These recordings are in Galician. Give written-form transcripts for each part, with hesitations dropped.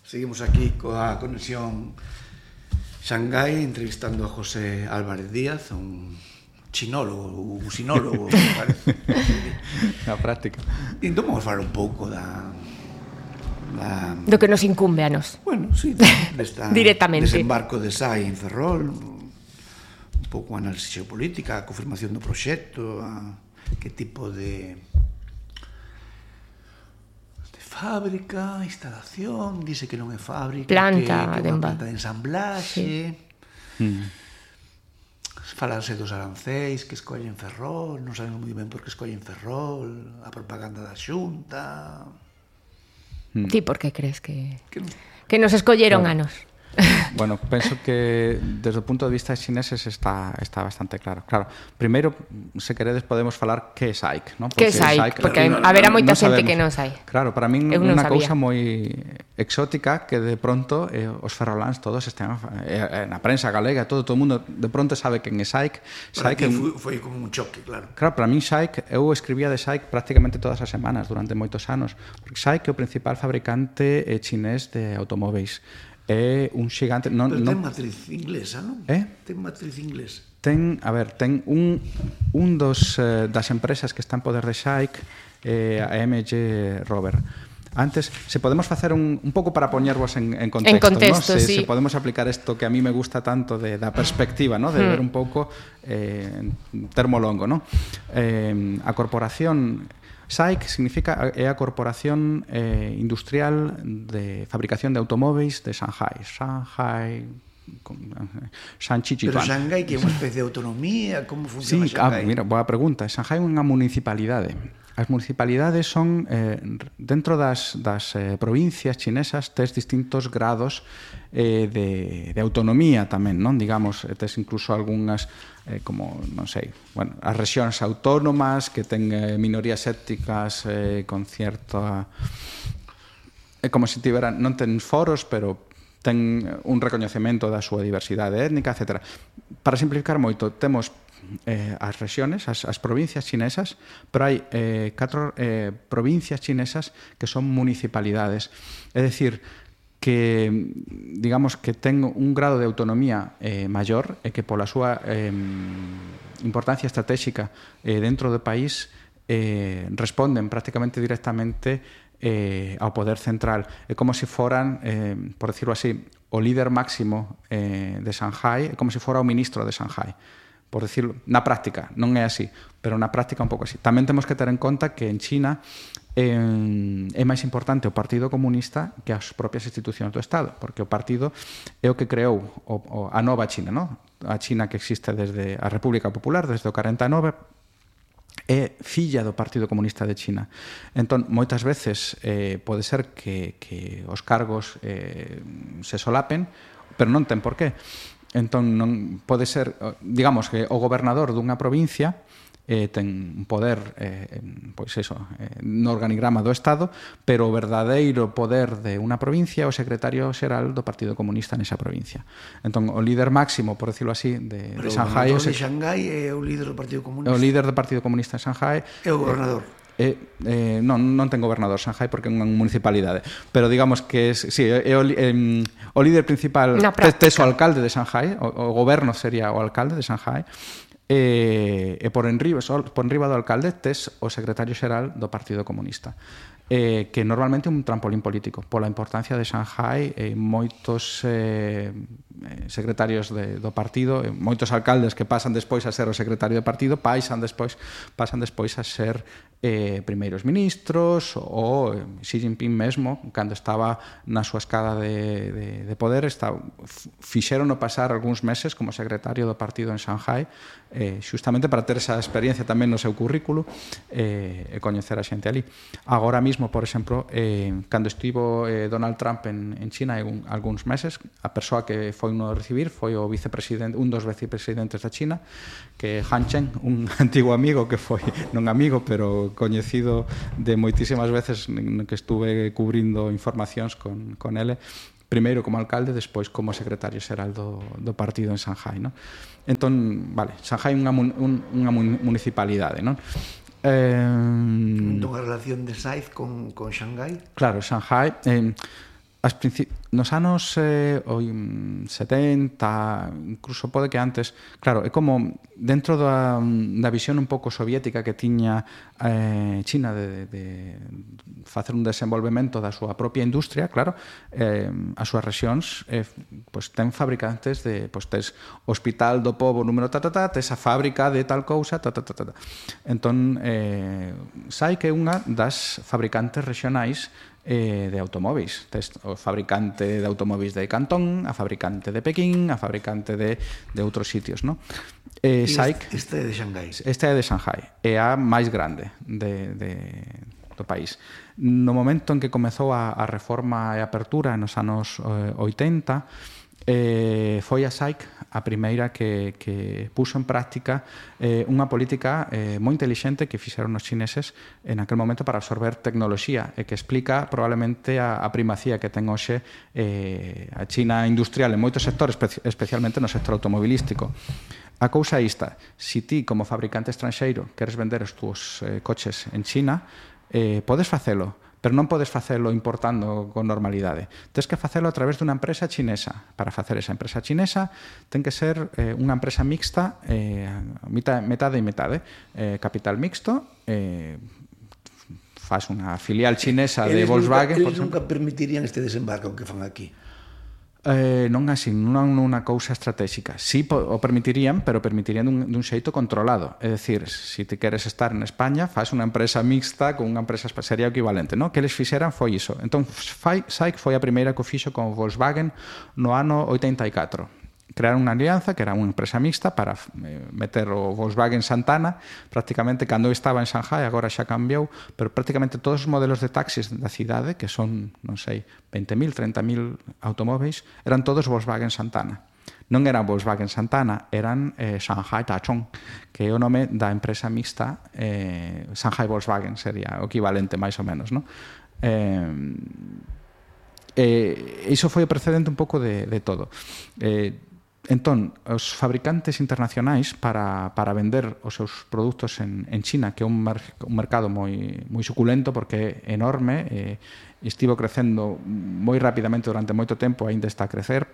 Seguimos aquí coa conexión Xangai entrevistando a José Álvarez Díaz, un chinólogo, un usinólogo, parece. Na práctica. Entón vamos falar un pouco do que nos incumbe a nos. Bueno, sí, desta directamente. Desembarco de SAI en Ferrol, un pouco análise xeopolítica, a confirmación do proxecto, que tipo de fábrica, instalación, dice que non é fábrica, planta que é unha planta de ensamblaxe. Sí. Falanse dos arancéis que escollen Ferrol, non sabemos moi ben por que escollen Ferrol, a propaganda da Xunta. Ti por que crees que nos escolleron a nos? Bueno, penso que desde o punto de vista de chineses está bastante claro. Claro, primeiro, se queredes, podemos falar que é SAIC, non? Que é SAIC, porque haberá moita xente que non sai. Claro, para min unha cousa moi exótica que de pronto os ferroláns todos estén na prensa galega, todo o mundo de pronto sabe quen é SAIC. Foi como un choque, claro. Claro, para min SAIC, eu escribía de SAIC prácticamente todas as semanas durante moitos anos, porque SAIC é o principal fabricante chinés de automóveis. É un xigante... Pero ten matriz inglesa, non? Ten matriz inglesa. Ten un das empresas que está en poder de SAIC, a MG Rover. Antes, se podemos facer un pouco para poñervos en contexto, en contexto, ¿no? sí. Se podemos aplicar isto que a mí me gusta tanto da perspectiva, ¿no? De ver un pouco en termo longo, ¿no? A corporación... SAIC significa é a Corporación Industrial de Fabricación de Automóveis de Shanghai. Pero Shanghai que é unha especie de autonomía, como funciona Shanghai? Mira, boa pregunta. Shanghai é unha municipalidade. As municipalidades son, dentro das provincias chinesas, tes distintos grados de autonomía tamén, non? Digamos, tes incluso algunhas, como, non sei, bueno, as rexións autónomas que ten minorías étnicas con cierta... É como se tiveran, non ten foros, pero ten un recoñecemento da súa diversidade étnica, etc. Para simplificar moito, temos as rexións, as provincias chinesas, pero hai 4 provincias chinesas que son municipalidades. É dicir, que digamos que ten un grado de autonomía maior e que pola súa importancia estratégica dentro do país responden prácticamente directamente ao poder central. É como se foran, por decirlo así, o líder máximo de Shanghai, é como se fora o ministro de Shanghai, por decirlo, na práctica, non é así, pero na práctica un pouco así. Tamén temos que ter en conta que en China é máis importante o Partido Comunista que as propias institucións do Estado, porque o partido é o que creou a nova China, non? A China que existe desde a República Popular, desde o 49, é filla do Partido Comunista de China. Entón, moitas veces pode ser que os cargos se solapen, pero non ten por qué. Entón, non pode ser, digamos, que o gobernador dunha provincia ten un poder, pois eso, no organigrama do Estado, pero o verdadeiro poder de unha provincia é o secretario xeral do Partido Comunista nesa provincia. Entón, o líder máximo, por decirlo así, de Shanghai... Pero o gobernador de Shanghai é o líder do Partido Comunista? O líder do Partido Comunista de Shanghai... É o gobernador? Non ten gobernador Shanghai porque é unha municipalidade, pero digamos que é o líder principal, tes o alcalde de Shanghai, o goberno sería o alcalde de Shanghai, e por enriba do alcalde tes o secretario xeral do Partido Comunista, que normalmente é un trampolín político pola importancia de Shanghai. Moitos secretarios do partido, moitos alcaldes que pasan despois a ser o secretario do partido pasan despois a ser primeiros ministros, ou Xi Jinping mesmo, cando estaba na súa escada de poder, fixérono pasar algúns meses como secretario do partido en Shanghai, xustamente para ter esa experiencia tamén no seu currículo e coñecer a xente ali. Agora mismo, por exemplo, cando estivo Donald Trump en China hai algúns meses, a persoa que foi no recibir foi o vicepresidente, un dos vicepresidentes da China, que é Han Chen, un antigo amigo que foi, non amigo, pero coñecido de moitísimas veces que estuve cubrindo informacións con ele, primeiro como alcalde, despois como secretario xeral do partido en Shanghai, non? Entón, vale, Shanghai é unha municipalidade, non? Unha relación de SAIC con Shanghai? Claro, Shanghai nos anos 70, incluso pode que antes, claro, é como dentro da visión un pouco soviética que tiña China de facer un desenvolvemento da súa propia industria, claro, as súas rexións ten fabricantes de, tes Hospital do Pobo número tes a fábrica de tal cousa, entón SAIC é unha das fabricantes regionais de automóviles. Tes o fabricante de automóviles de Cantón, a fabricante de Pequín, a fabricante de outros sitios, non? SAIC este é de Xangai. Este é de Xangai, é a máis grande do país. No momento en que comezou a reforma e a apertura nos anos 80, foi a SAIC a primeira que puso en práctica unha política moi intelixente que fixeron os chineses en aquel momento para absorber tecnoloxía e que explica probablemente a primacía que ten hoxe a China industrial en moitos sectores, especialmente no sector automobilístico. A cousa é esta: se ti como fabricante estranxeiro queres vender os túos coches en China, podes facelo, pero non podes facelo importando con normalidade. Tens que facelo a través dunha empresa chinesa. Para facer esa empresa chinesa ten que ser unha empresa mixta, metade e metade. Capital mixto, faz unha filial chinesa de Volkswagen. Eles nunca permitirían este desembarco que fan aquí? Non así, non unha cousa estratégica. Sí o permitirían, pero permitirían dun xeito controlado. É dicir, se ti queres estar en España, faz unha empresa mixta con unha empresa sería equivalente, non? Que eles fixeran foi iso. Entón, SAIC foi a primeira que o fixo con Volkswagen no ano 84. Crearon unha alianza que era unha empresa mixta para meter o Volkswagen Santana, prácticamente cando estaba en Shanghai, agora xa cambiou, pero prácticamente todos os modelos de taxis da cidade, que son, non sei, 20.000, 30.000 automóveis, eran todos Volkswagen Santana. Non eran Volkswagen Santana, eran Shanghai Tachong, que é o nome da empresa mixta, Shanghai Volkswagen sería o equivalente, máis ou menos, non? Iso foi o precedente un pouco de todo. Entón, os fabricantes internacionais para vender os seus produtos en China, que é un mercado moi suculento porque é enorme, estivo crecendo moi rapidamente durante moito tempo, aínda está a crecer,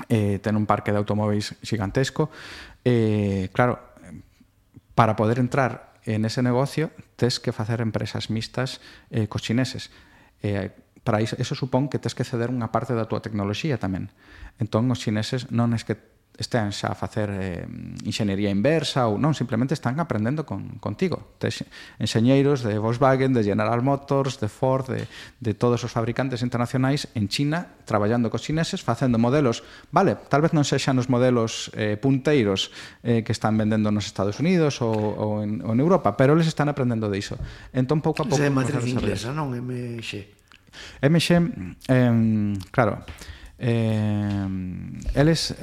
ten un parque de automóveis gigantesco. Claro, para poder entrar en ese negocio tes que facer empresas mixtas cos chineses. Para iso supón que tes que ceder unha parte da túa tecnoloxía tamén. Entón, os chineses non é que estean xa a facer enxeñería inversa ou non, simplemente están aprendendo contigo. Tes enxeñeiros de Volkswagen, de General Motors, de Ford, de todos os fabricantes internacionais en China, traballando cos chineses, facendo modelos, vale, tal vez non sexan os modelos punteiros que están vendendo nos Estados Unidos ou en Europa, pero eles están aprendendo de iso. Entón, pouco a pouco... É matriz inglesa, non? MX. Claro, eles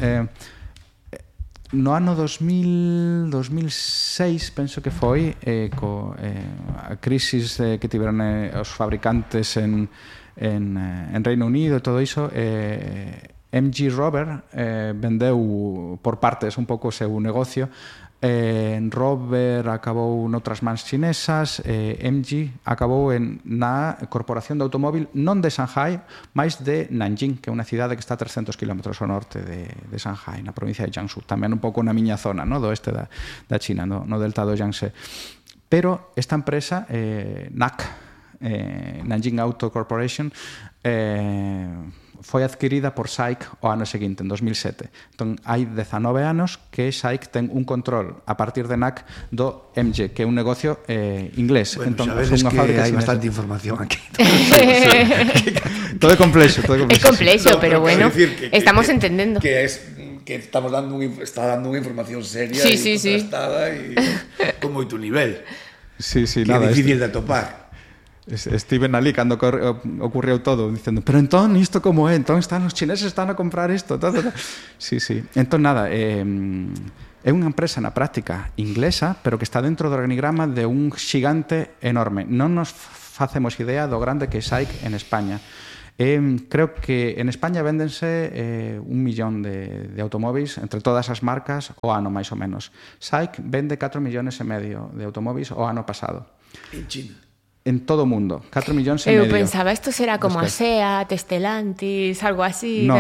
no ano 2006 penso que foi a crisis que tiveron os fabricantes en Reino Unido e todo iso, MG Rover vendeu por partes un pouco o seu negocio. Rover acabou noutras mans chinesas, MG acabou na Corporación de Automóvil non de Shanghai, mais de Nanjing, que é unha cidade que está a 300 km ao norte de Shanghai, na provincia de Jiangsu, tamén un pouco na miña zona, do oeste da China, no delta do Yangtze. Pero esta empresa, NAC, Nanjing Auto Corporation, foi adquirida por SAIC o ano seguinte, en 2007. Entón, hai 19 anos que SAIC ten un control a partir de NAC do MG, que é un negocio inglés. Bueno, entón, sabedes que hai bastante información aquí. Todo é complexo. É complexo, pero bueno, estamos entendendo. Que está dando unha información seria e contrastada e con moito nivel. Sí, que é difícil de atopar. Estiven ali cando ocurriu todo dicendo, pero entón isto como é? Entón os chineses están a comprar isto todo. Sí. Entón nada, é unha empresa na práctica inglesa, pero que está dentro do organigrama de un xigante enorme. Non nos facemos idea do grande que é SAIC en España. Creo que en España véndense 1 millón de automóviles entre todas as marcas o ano, máis ou menos. SAIC vende 4,5 millones de automóviles o ano pasado. En China? en todo o mundo, 4 millóns e medio. Eu pensaba, isto será como a SEAT, Stellantis, algo así. No.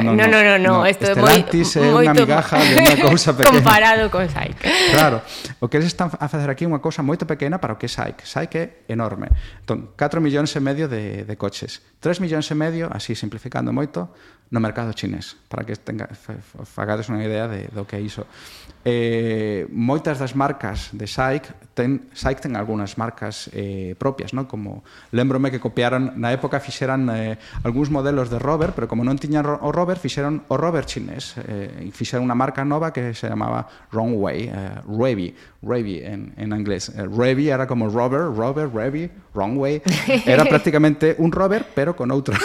Stellantis é unha migaja de unha cousa pequena. Comparado con SAIC. Claro, o que eles están a facer aquí é unha cousa moito pequena para o que é SAIC. SAIC é enorme. Entón, 4 millóns e medio de coches. 3 millóns e medio, así simplificando moito, no mercado chinés, para que fagades unha idea do que é iso. Moitas das marcas de SAIC ten algunhas marcas propias, non? Como lembrome que copiaron, na época fixeran algúns modelos de rover, pero como non tiñan o rover, fixeron o rover chinés, e fixeron unha marca nova que se chamaba Runway, Revy en inglés. Revy era como rover, Revy, Runway. Era prácticamente un rover, pero con outro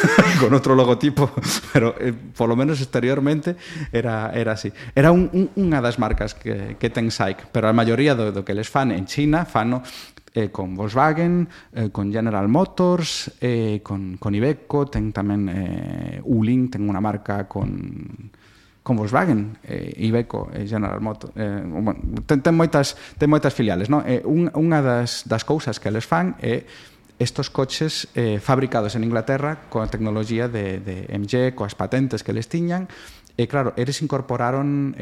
logotipo, pero por lo menos exteriormente era así. Era unha das marcas que ten SAIC, pero a maioría do que les fan en China fano con Volkswagen, con General Motors, con Iveco, ten tamén Wuling, ten unha marca con Volkswagen, Iveco, General Motors, ten moitas filiales, non? Unha das cousas que les fan é estos coches fabricados en Inglaterra coa tecnología de MG, coas patentes que les tiñan. E claro, eles incorporaron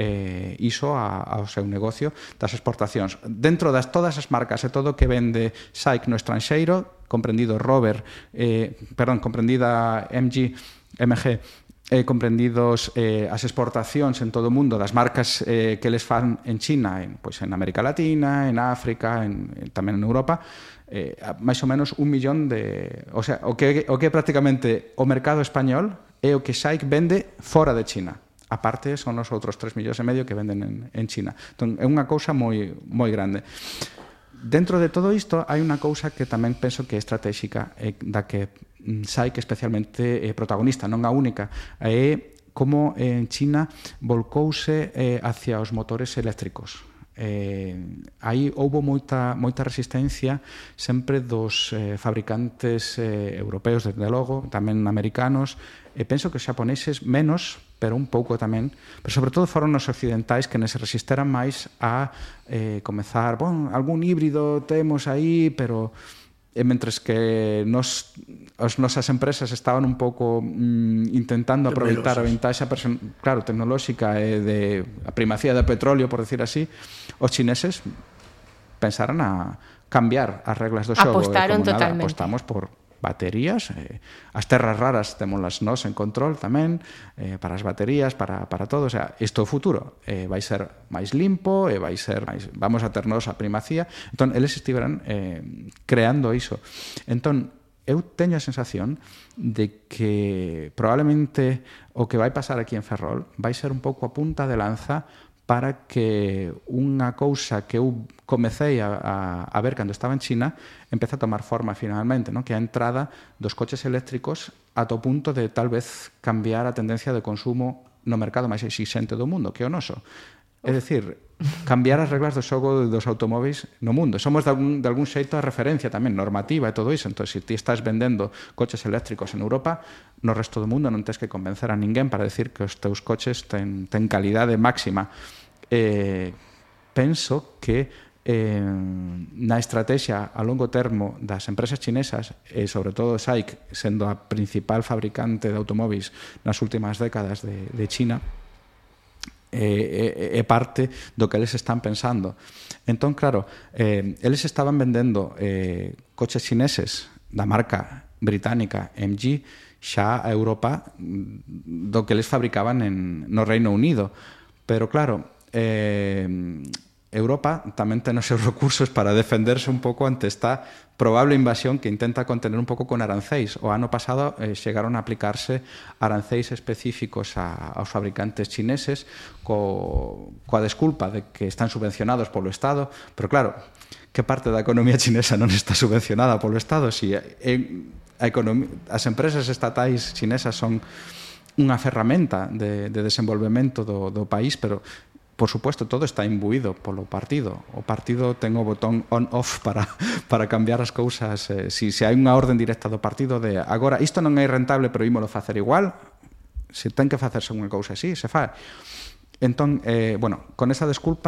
iso ao seu negocio das exportacións. Dentro das todas as marcas e todo o que vende SAIC no estranxeiro, comprendida MG, comprendidos as exportacións en todo o mundo das marcas que les fan en China, en América Latina, en África, tamén en Europa, máis ou menos 1 millón de... O sea, o que é prácticamente o mercado español é o que SAIC vende fora de China. A parte son os outros 3 millóns e medio que venden en China. Entón, é unha cousa moi grande. Dentro de todo isto hai unha cousa que tamén penso que é estratégica, da que SAIC especialmente é protagonista, non a única, é como en China volcouse hacia os motores eléctricos. Aí houbo moita resistencia sempre dos fabricantes europeos, desde logo, tamén americanos, e penso que os xaponeses menos, pero un pouco tamén, pero sobre todo foron os occidentais que se resisteran máis a comezar, algún híbrido temos aí, pero mentres que as nosas empresas estaban un pouco intentando aproveitar a ventaxa tecnolóxica e de a primacía do petróleo, por decir así, os chineses pensaran a cambiar as reglas do xogo. Apostaron totalmente. Apostamos por baterías, as terras raras témolas nós en control tamén, para as baterías, para todo, o sea, isto é o futuro, vai ser máis limpo, e vai ser máis, vamos a ternos a primacía. Entón, eles estiveran creando iso. Entón, eu teño a sensación de que probablemente o que vai pasar aquí en Ferrol vai ser un pouco a punta de lanza para que unha cousa que eu comecei a ver cando estaba en China empece a tomar forma finalmente, non? Que é a entrada dos coches eléctricos ata o punto de tal vez cambiar a tendencia de consumo no mercado máis exixente do mundo, que é o noso. É dicir, cambiar as reglas do xogo dos automóveis no mundo. Somos de algún xeito a referencia tamén normativa e todo iso. Entón, se ti estás vendendo coches eléctricos en Europa, no resto do mundo non tens que convencer a ninguén para decir que os teus coches ten calidade máxima. Penso que na estrategia a longo termo das empresas chinesas, e sobre todo SAIC, sendo a principal fabricante de automóveis nas últimas décadas de China, é parte do que eles están pensando. Entón, claro, eles estaban vendendo coches chineses da marca británica MG xa a Europa do que eles fabricaban no Reino Unido. Pero, claro, Europa tamén ten os seus recursos para defenderse un pouco ante esta probable invasión que intenta contener un pouco con arancéis. O ano pasado chegaron a aplicarse arancéis específicos aos fabricantes chineses coa desculpa de que están subvencionados polo Estado, pero claro, que parte da economía chinesa non está subvencionada polo Estado? Si as empresas estatais chinesas son unha ferramenta de desenvolvemento do país, pero por supuesto, todo está imbuído polo partido. O partido ten o botón on-off para cambiar as cousas. Se hai unha orden directa do partido de agora, isto non é rentable, pero ímolo facer igual, se ten que facerse unha cousa así, se fai. Entón, con esa desculpa,